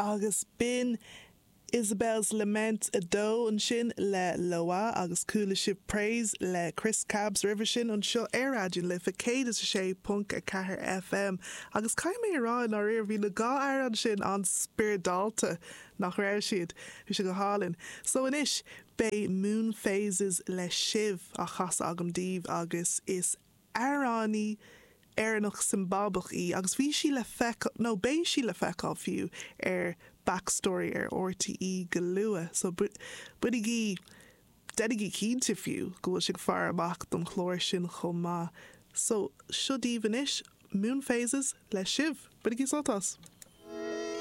Agus b'in Isabel's Lament 2 ansin le Loah agus chuala sibh Praise le Chris Cabs roimhe sin anseo ar Raidió na Life 106.4 FM. Agus caithfidh mé a rá i ndáiríre bhí na dhá amhrán sin an-spioradálta, nach raibh siad? Bhí sé go hálainn. So anois beidh Moon Phases le Shiv á chasadh agam daoibh agus is amhránaí Éireannach Siombábach í agus bhí sí le feiceáil, nó beidh sí le feiceáil fiú, ar Backstory ar RTÉ go luath. So bainigí, déanaigí cinnte fiú, go bhfuil sibh ag faire amach don chlár sin chomh maith. So seo daoibh anois, Moon Phases le Shiv. Bainigí sult as!